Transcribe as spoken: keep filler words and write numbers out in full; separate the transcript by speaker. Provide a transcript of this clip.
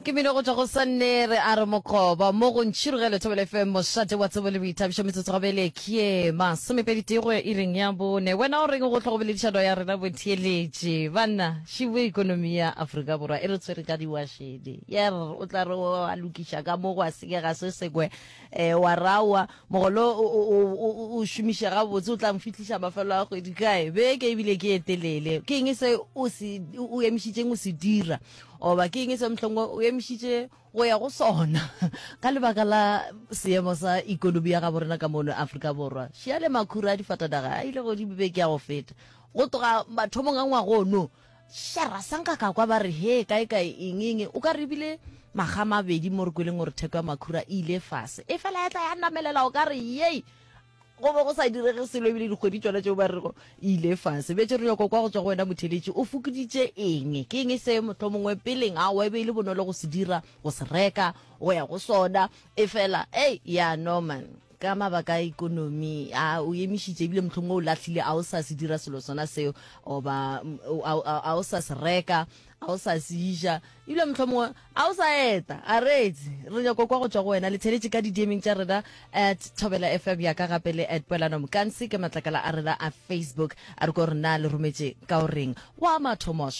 Speaker 1: Ke mino go tšwa go Sannere a re Mokgoba mo go Ntšhirogelo Thobela F M mošate wa tsebo le boithabišo metsotso gabele ke masomepedi tee go ya iring ya bone. Wena o reng go hlogo boledišano ya rena botheeletše? Banna, šibo ekonomi ya Afrika Borwa e re tshwere ka diwašene. Yer, o tla re wa lokiša ka mo gwa senyega se sengwe, eh, wa rawa mogolo o, o, o, o šomiše gabotse o tla mfihliša mafelo a kgwedi kae? Beke ebile ke e telele. Ke eng se o se o emišitšeng o se dira? Oba ke eng se mohlomongwe o emišitše go ya go sona ka lebaka la seemo sa ikonomi ya gabo rena ka mono Afrika Borwa? Šia le makhura a difatanaga a ile godimo beke ya go feta. Go tloga mathomong a ngwaga ono, šara sa nka ka kwa ba re he kae kae eng eng, o ka re ebile makga a mabedi mo re kweleng gore theko ya makhura e ile fase. E fela ya tla ya namelela o ka re yei, go be go sa direge selo ebile dikgwedi tšona tšeo ba rego e ile fase. Bjale re nyaka kwa go tšwa go wena motheeletši, o fokoditše eng? Ke eng se mohlomongwe peleng aowa e be e le bonolo go se dira, go se reka, go ya go sona, e fela ei ya no man, ka mabaka a ikonomi a o emišitše ebile mohlomongwe o lahlile a o sa se dira selo sona seo, oba a o sa se reka, a o sa se ja, ebile mohlomongwe a o sa eta. A reetse, re nyaka kwa go tšwa go wena le theletše ka di-D M-eng tša rena at Thobela F M ya ka gape le at Poelano Mkansi ke matlakala a rena a Facebook. A re ko re na le rometše ka o reng wa mathomo.